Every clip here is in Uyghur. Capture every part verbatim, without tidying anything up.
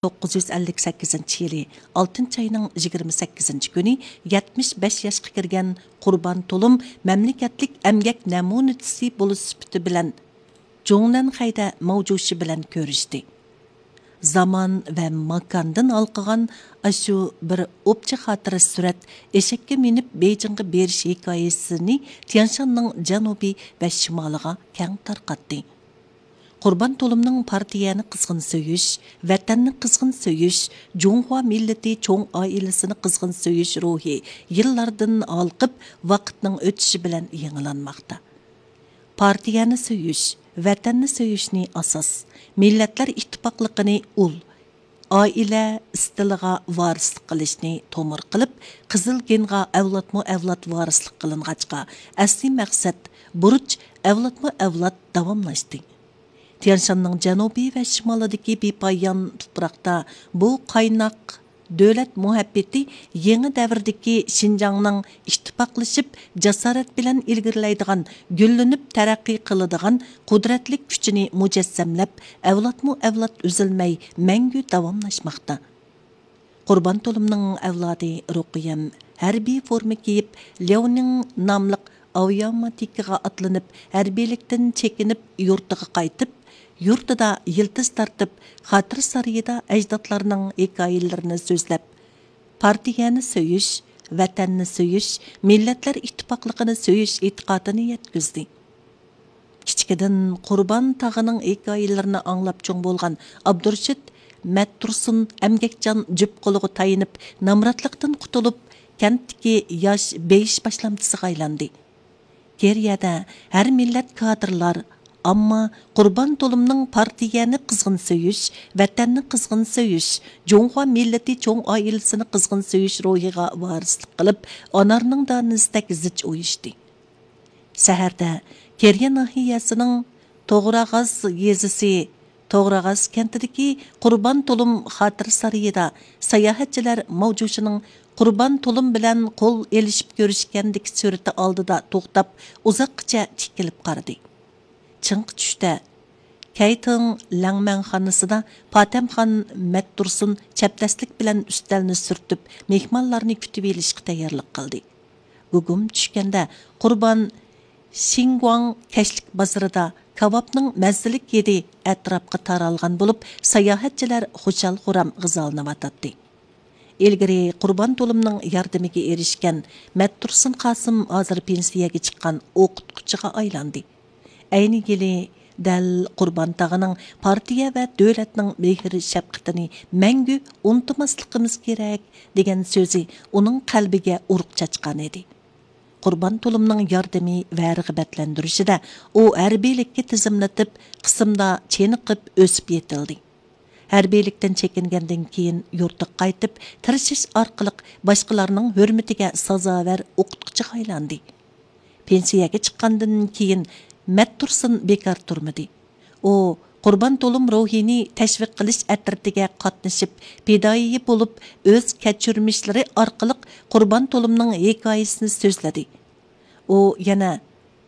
توققۇز يۈز ئەللىك سەككىزىنچى يىلى ئالتىنچى ئاينىڭ يىگىرمە سەككىزىنچى كۈنى يەتمىش بەش ياشقا كىرگەن قۇربان تولۇم مەملىكەتلىك ئەمگەك نەمۇنىچىسى بولۇش سۈپىتى بىلەن جۇڭنەنخەيدە ماۋجۇشى بىلەن كۆرۈشتى. زامان ۋە ماكاندىن ھالقىغان ئاشۇ بىر ئوپچە خاتىرە سۈرەت ئېشەككە مىنىپ بېيجىڭغا بېرىش ھېكايىسىنى تيەنشاننىڭ جەنۇبى ۋە شىمالىغا كەڭ تارقاتتى. قۇربان تولۇمنىڭ پارتىيەنى قىزغىن سۆيۈش، ۋەتەننى قىزغىن سۆيۈش، جۇڭخۇا مىللىتى چوڭ ئائىلىسىنى قىزغىن سۆيۈش روھى يىللاردىن ھالقىپ، ۋاقىتنىڭ ئۆتۈشى بىلەن يېڭىلانماقتا. پارتىيەنى سۆيۈش، ۋەتەننى سۆيۈشنى ئاساس، مىللەتلەر ئىتتىپاقلىقىنى ئۇل، ئائىلە ئىستىلىغا ۋارىسلىق قىلىشنى تومۇر قىلىپ، قىزىل گېنغا ئەۋلادمۇ ئەۋلاد ۋارىسلىق قىلىنغاچقا، ئەسلىي مەقسەت، بۇرچ ئەۋلادمۇ ئەۋلاد داۋاملاشتى. تيەنشاننىڭ جەنۇبى ۋە شىمالىدىكى بىپايان تۇپراقتا بۇ قايناق دۆلەت مۇھەببىتى يېڭى دەۋردىكى شىنجاڭنىڭ ئىتتىپاقلىشىپ، جاسارەت بىلەن ئىلگىرىلەيدىغان، گۈللىنىپ تەرەققىي قىلىدىغان قۇدرەتلىك كۈچىنى مۇجەسسەملەپ، ئەۋلادمۇ ئەۋلاد ئۈزۈلمەي مەڭگۈ داۋاملاشماقتا. قۇربان تولۇمنىڭ ئەۋلادى رۇقىيەم ھەربىي فورما كىيىپ، لياۋنىڭ ناملىق ئاۋىئاماتىكىغا ئاتلىنىپ، ھەربىيلىكتىن چېكىنىپ، يۇرتىغا قايتىپ، يۇرتىدا يىلتىز تارتىپ، خاتىرە سارىيىدا ئەجدادلارنىڭ ھېكايىلىرىنى سۆزلەپ، پارتىيەنى سۆيۈش، ۋەتەننى سۆيۈش، مىللەتلەر ئىتتىپاقلىقىنى سۆيۈش ئېتىقادىنى يەتكۈزدى. كىچىكىدىن قۇربان تاغىنىڭ ھېكايىلىرىنى ئاڭلاپ چوڭ بولغان ئابدۇرېشىت مەتتۇرسۇن ئەمگەكچان جۈپ قولىغا تايىنىپ، نامراتلىقتىن قۇتۇلۇپ، كەنتتىكى ياش بېيىش باشلامچىسىغا ئايلاندى. كېرىيەدە ھەر مىللەت كادىرلار، ئامما قۇربان تولۇمنىڭ پارتىيەنى قىزغىن سۆيۈش، ۋەتەننى قىزغىن سۆيۈش، جۇڭخۇا مىللىتى چوڭ ئائىلىسىنى قىزغىن سۆيۈش روھىغا ۋارىسلىق قىلىپ، ئانارنىڭ دانىسىدەك زىچ ئۇيۇشتى. سەھەردە كېرىيە ناھىيەسىنىڭ توغراغاز يېزىسى توغراغاز كەنتىدىكى قۇربان تولۇم خاتىرە سارىيىدا ساياھەتچىلەر ماۋجۇشىنىڭ قۇربان تولۇم بىلەن قول ئېلىشىپ كۆرۈشكەندىكى سۈرىتى ئالدىدا توختاپ، ئۇزاققىچە تىكىلىپ قارىدى. چىڭقى چۈشتە كەيتىڭ لەڭمەنخانىسىدا پاتەمخان مەتتۇرسۇن چەبدەسلىك بىلەن ئۈستەلنى سۈرتۈپ، مېھمانلارنى كۈتۈۋېلىشقا تەييارلىق قىلدى. گۇگۇم چۈشكەندە قۇربان شىنگۇاڭ كەچلىك بازىرىدا كاۋاپنىڭ مەززىلىك ھىدى ئەتراپقا تارالغان بولۇپ، ساياھەتچىلەر خۇشال-خۇرام غىزالىنىۋاتاتتى. ئىلگىرى قۇربان تولۇمنىڭ ياردىمىگە ئېرىشكەن مەتتۇرسۇن قاسىم ھازىر پېنسىيەگە چىققان ئوقۇتقۇچىغا ئايلاندى. ئەينى يىلى دەل قۇربان تاغىنىڭ پارتىيە ۋە دۆلەتنىڭ مېھىر-شەپقىتىنى مەڭگۈ ئۇنتۇماسلىقىمىز كېرەك، دېگەن سۆزى ئۇنىڭ قەلبىگە ئۇرۇق چاچقانىدى. قۇربان تولۇمنىڭ ياردىمى ۋە رىغبەتلەندۈرۈشىدە ئۇ ھەربىيلىككە تىزىملىتىپ، قىسىمدا چېنىقىپ ئۆسۈپ يېتىلدى. ھەربىيلىكتىن چېكىنگەندىن كېيىن يۇرتىغا قايتىپ، تىرىشىش ئارقىلىق باشقىلارنىڭ ھۆرمىتىگە سازاۋەر ئوقۇتقۇچىغا ئايلاندى. پېنسىيەگە چىققاندىن كېيىن مەتتۇرسۇن بىكار تۇرمىدى. ئۇ قۇربان تولۇم روھىنى تەشۋىق قىلىش ئەترىتىگە قاتنىشىپ، پىدائىي بولۇپ، ئۆز كەچۈرمىشلىرى ئارقىلىق قۇربان تولۇمنىڭ ھېكايىسىنى سۆزلىدى. ئۇ يەنە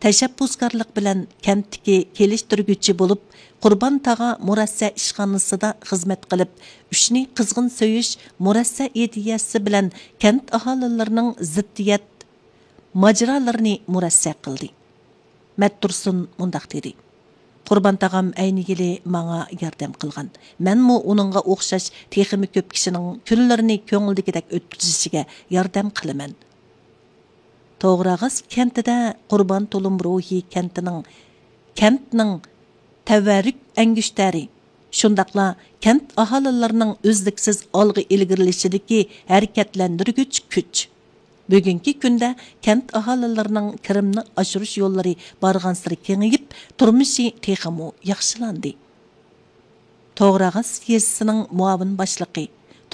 تەشەببۇسكارلىق بىلەن كەنتتىكى كېلىشتۈرگۈچى بولۇپ، قۇربان تاغا مۇرەسسە ئىشخانىسىدا خىزمەت قىلىپ، ئۈچنى قىزغىن سۆيۈش مۇرەسسە ئىدىيەسى بىلەن كەنت ئاھالىلىرىنىڭ زىددىيەت ماجىرالىرىنى مۇرەسسە قىلدى. مەتتۇرسۇن مۇنداق دېدى: «قۇربان تاغام ئەينى يىلى ماڭا ياردەم قىلغان. مەنمۇ ئۇنىڭغا ئوخشاش تېخىمۇ كۆپ كىشىنىڭ كۈنلىرىنى كۆڭلىدىكىدەك ئۆتكۈزۈشىگە ياردەم قىلىمەن.» توغراغاز كەنتىدە قۇربان تولۇم روھى كەنتىنىڭ، كەنتنىڭ تەۋەررۈك ئەڭگۈشتەرى، شۇنداقلا كەنت ئاھالىلىرىنىڭ ئۈزلۈكسىز ئالغا ئىلگىرىلىشىدىكى ھەرىكەتلەندۈرگۈچ كۈچ. بۈگۈنكى كۈندە كەنت ئاھالىلىرىنىڭ كىرىمنى ئاشۇرۇش يوللىرى بارغانسېرى كېڭىيىپ، تۇرمۇشى تېخىمۇ ياخشىلاندى. توغراغاز يېزىسىنىڭ مۇئاۋىن باشلىقى،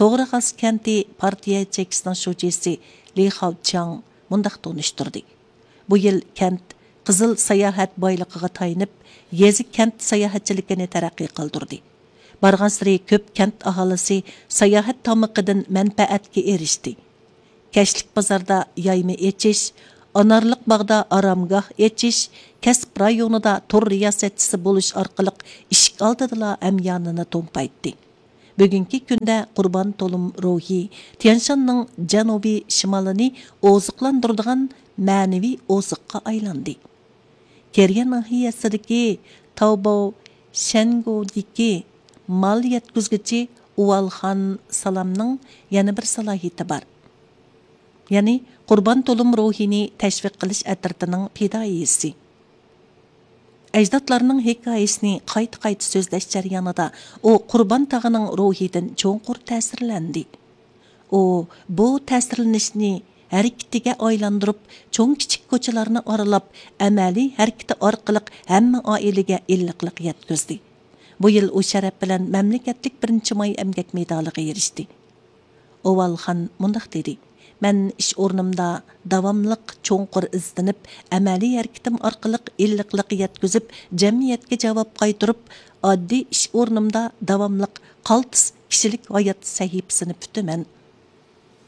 توغراغاز كەنتى پارتىيە چېكىسىنىڭ شۇجىسى لى خاۋچياڭ مۇنداق تونۇشتۇردى: بۇ يىل كەنت قىزىل ساياھەت بايلىقىغا تايىنىپ، يېزا كەنت ساياھەتچىلىكىنى تەرەققىي قىلدۇردى. بارغانسېرى كۆپ كەنت ئاھالىسى ساياھەت تامىقىدىن مەنپەئەتكە ئېرىشتى. كەچلىك بازاردا يايما ئېچىش، ئانارلىق باغدا ئارامگاھ ئېچىش، كەسىپ رايونىدا تور رىياسەتچىسى بولۇش ئارقىلىق ئىشىك ئالدىدىلا ھەميانىنى تومپايتتى. بۈگۈنكى كۈندە قۇربان تولۇم روھى تيەنشاننىڭ جەنۇبىي شىمالىنى ئوزۇقلاندۇرىدىغان مەنىۋى ئوزۇققا ئايلاندى. كېرىيە ناھىيەسىدىكى تاۋباۋ شەنگۇدىكى مال يەتكۈزگۈچى ئۇۋالخان سالامنىڭ يەنە بىر سالاھىيىتى بار. يەنى قۇربان تولۇم روھىنى تەشۋىق قىلىش ئەترىتىنىڭ پىدائىيسى. ئەجدادلارنىڭ ھېكايىسىنى قايتا-قايتا سۆزلەش جەريانىدا ئۇ قۇربان تاغىنىڭ روھىدىن چوڭقۇر تەسىرلەندى. ئۇ بۇ تەسىرلىنىشنى ھەرىكىتىگە ئايلاندۇرۇپ، چوڭ-كىچىك كوچىلارنى ئارىلاپ، ئەمەلىي ھەرىكىتى ئارقىلىق ھەممە ئائىلىگە ئىللىقلىق يەتكۈزدى. بۇ يىل ئۇ شەرەپ بىلەن مەملىكەتلىك بىرىنچى ماي ئەمگەك مېدالىغا ئېرىشتى. ئوۋالخان مۇنداق دېدى: مەن ئىش ئورنۇمدا داۋاملىق چوڭقۇر ئىزدىنىپ، ئەمەلىي ھەرىكىتىم ئارقىلىق ئىللىقلىق يەتكۈزۈپ، جەمئىيەتكە جاۋاب قايتۇرۇپ، ئاددىي ئىش ئورنۇمدا داۋاملىق قالتىس كىشىلىك ھايات سەھىپىسىنى پۈتىمەن.